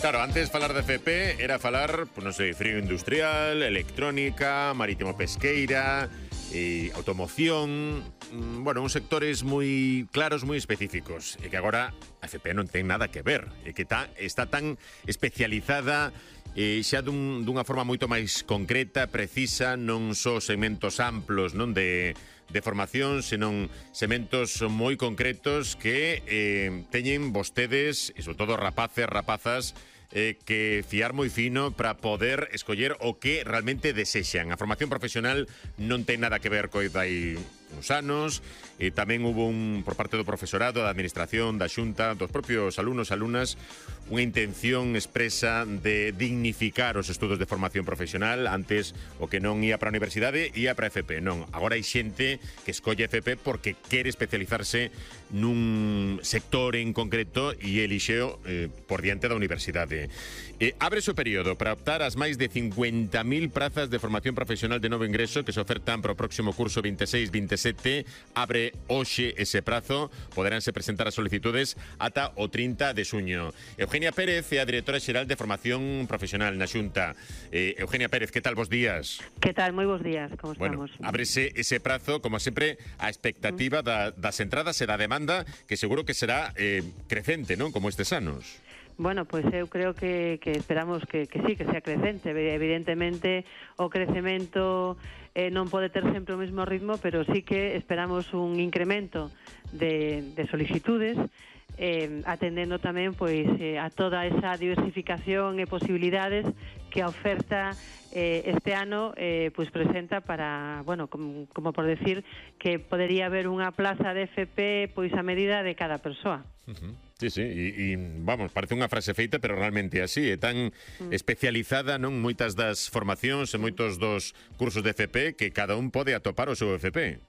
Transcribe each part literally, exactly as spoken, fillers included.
Claro, antes falar de F P era falar, pues non sei, frío industrial, electrónica, marítimo pesqueira, e automoción, mm, bueno, uns sectores moi claros, moi específicos, e que agora a F P non ten nada que ver, e que tá, está tan especializada e xa dun, dunha forma moito máis concreta, precisa, non só segmentos amplos, non de, de formación, senón segmentos moi concretos que eh, teñen vostedes, e sobre todo rapaces, rapazas, eh, que fiar moi fino para poder escoller o que realmente desexan. A formación profesional non ten nada que ver co dai uns anos, e tamén hubo un, por parte do profesorado, da administración, da xunta, dos propios alumnos, alumnas, unha intención expresa de dignificar os estudos de formación profesional. Antes o que non ia para a universidade ia para a F P. Non, agora hai xente que escolle F P porque quere especializarse nun sector en concreto e elixeo eh, por diante da universidade. Eh, abre o período para optar ás máis de cincuenta mil prazas de formación profesional de novo ingreso que se ofertan para o próximo curso veintiséis veintisiete. Abre hoxe ese prazo, poderánse presentar as solicitudes ata o trinta de xuño. Eugenia Pérez é a directora xeral de formación profesional na Xunta. Eh, Eugenia Pérez, que tal, bos días? Que tal, moi bos días, como bueno, estamos? Ábrese ese prazo, como sempre, a expectativa mm. da, das entradas e da demanda, que seguro que será eh, crecente, non? Como estes anos. Bueno, pois eu creo que, que esperamos que, que sí, que sea crecente. Evidentemente, o crecemento eh, non pode ter sempre o mesmo ritmo, pero sí que esperamos un incremento de, de solicitudes, eh, atendendo tamén pois eh, a toda esa diversificación e posibilidades que a oferta eh, este ano eh, pois presenta para, bueno, como, como por decir, que podería haber unha plaza de F P pois a medida de cada persoa. Uh-huh. Sí, sí, e, e vamos, parece unha frase feita, pero realmente así, é tan mm. especializada, non, moitas das formacións e moitos dos cursos de F P que cada un pode atopar o seu F P.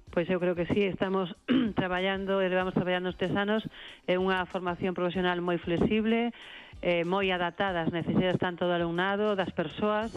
Pois eu creo que sí, estamos traballando, e levamos traballando estes anos en unha formación profesional moi flexible, eh, moi adaptada ás necesidades tanto do alumnado, das persoas,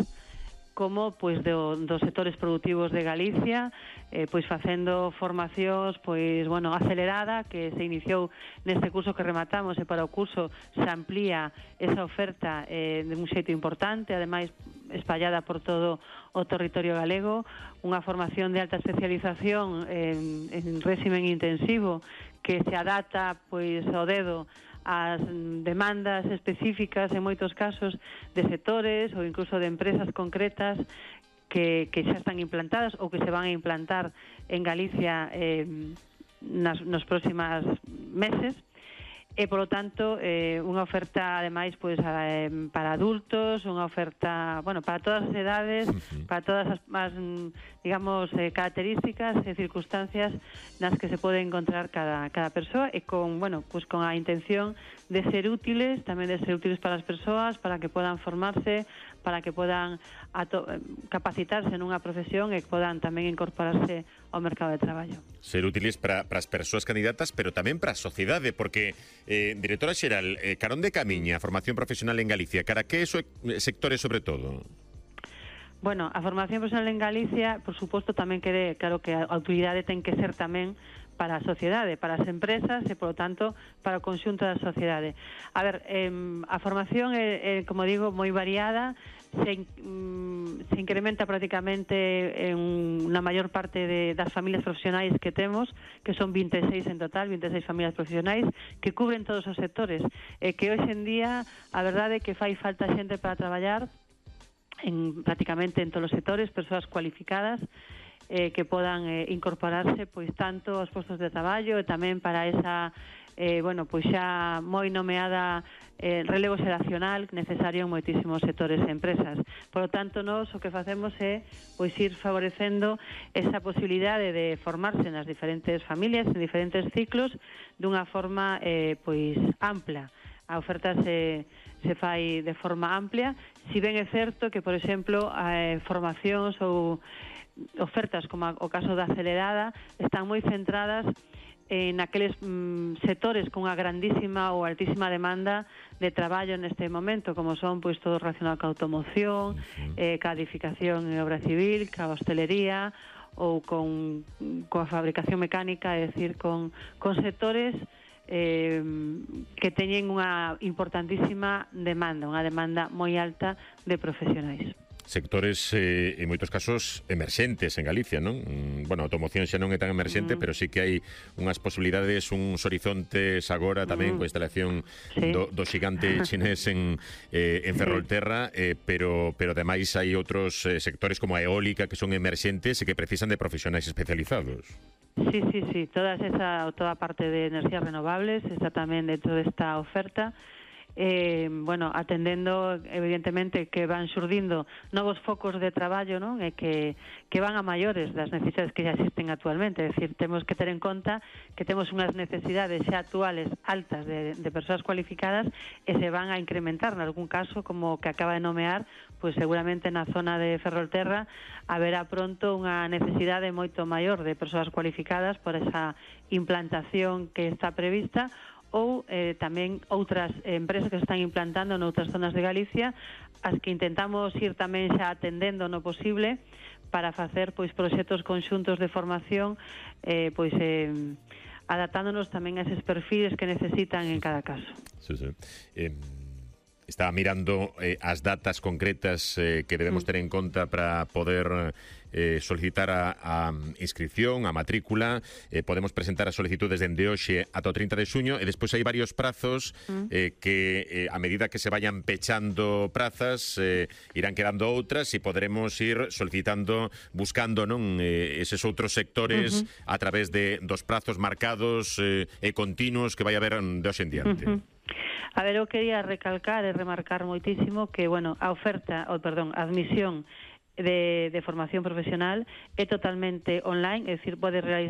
como pois do, dos sectores productivos de Galicia, eh, pois facendo formacións pois bueno, acelerada, que se iniciou neste curso que rematamos, e para o curso se amplía esa oferta eh, de un xeito importante, ademais espallada por todo o territorio galego, unha formación de alta especialización en, en régimen intensivo que se adapta pois ao dedo as demandas específicas en moitos casos de sectores ou incluso de empresas concretas que, que xa están implantadas ou que se van a implantar en Galicia eh, nas, nos próximos meses. E, polo tanto, eh, unha oferta, ademais, pois, eh, para adultos, unha oferta, bueno, para todas as edades, uh-huh. para todas as, as digamos, eh, características e circunstancias nas que se pode encontrar cada, cada persoa, e con, bueno, pues con a intención de ser útiles, tamén de ser útiles para as persoas, para que podan formarse, para que podan ato capacitarse nunha profesión e que podan tamén incorporarse ao mercado de traballo. Ser útiles para, para as persoas candidatas, pero tamén para a sociedade, porque, eh, directora xeral, eh, carón de camiña a formación profesional en Galicia, cara que eso sectores sobre todo? Bueno, a formación profesional en Galicia, por suposto, tamén quere, claro que a autoridade ten que ser tamén para a sociedade, para as empresas e, polo tanto, para o conxunto da sociedade. A ver, eh, a formación é, é, como digo, moi variada, se, mm, se incrementa prácticamente en unha maior parte de, das familias profesionais que temos, que son veintiséis en total, veintiséis familias profesionais, que cubren todos os sectores, e que hoxe en día a verdade é que fai falta xente para traballar en prácticamente en todos os sectores, persoas cualificadas, eh, que podan eh, incorporarse pois tanto aos postos de traballo e tamén para esa eh, bueno, pois xa moi nomeada eh, relevo xeracional necesario en moitísimos sectores e empresas. Por lo tanto, nós o que facemos é pois ir favorecendo esa posibilidade de formarse nas diferentes familias, en diferentes ciclos, dunha forma eh, pois ampla. A oferta se, se fai de forma amplia, si ben é certo que, por exemplo, eh, formacións ou ofertas como o caso da acelerada están moi centradas en aqueles mm, sectores con unha grandísima ou altísima demanda de traballo neste momento, como son pois todo relacionado ca automoción, uh-huh. eh, ca edificación e obra civil, ca hostelería ou con, coa fabricación mecánica, é dicir, con, con sectores eh, que teñen unha importantísima demanda, unha demanda moi alta de profesionais. Sectores, eh, en moitos casos, emerxentes en Galicia, non? Mm, bueno, a automoción xa non é tan emerxente, mm. pero sí que hai unhas posibilidades, uns horizontes agora tamén mm. coa instalación sí. do, do xigante chinés en, eh, en Ferrolterra, eh, pero, pero ademais hai outros eh, sectores como a eólica que son emerxentes e que precisan de profesionais especializados. Sí, sí, sí, toda esa toda parte de enerxías renovables está tamén dentro desta oferta. Eh, bueno, atendendo evidentemente que van xurdindo novos focos de traballo, non? E que, que van a maiores das necesidades que xa existen actualmente. É dicir, temos que ter en conta que temos unhas necesidades xa actuales altas de, de persoas cualificadas e se van a incrementar en algún caso, como que acaba de nomear, pois seguramente na zona de Ferrolterra haberá pronto unha necesidade moito maior de persoas cualificadas por esa implantación que está prevista, ou eh, tamén outras empresas que se están implantando noutras zonas de Galicia, as que intentamos ir tamén xa atendendo no posible para facer pois proxectos conxuntos de formación, eh, pois eh, adaptándonos tamén a eses perfiles que necesitan en cada caso. Sí, sí. Eh... Estaba mirando eh, as datas concretas eh, que debemos ter en conta para poder eh, solicitar a, a inscripción, a matrícula. Eh, podemos presentar as solicitudes dende hoxe ata o trinta de xuño e despois hai varios prazos eh, que eh, a medida que se vayan pechando prazas eh, irán quedando outras e poderemos ir solicitando, buscando non eh, eses outros sectores uh-huh. a través de dos prazos marcados eh, e continuos que vai haber de hoxe en diante. Uh-huh. A ver, eu quería recalcar e remarcar moitísimo que, bueno, a oferta, ou perdón, a admisión de, de formación profesional é totalmente online, é dicir, pode realizar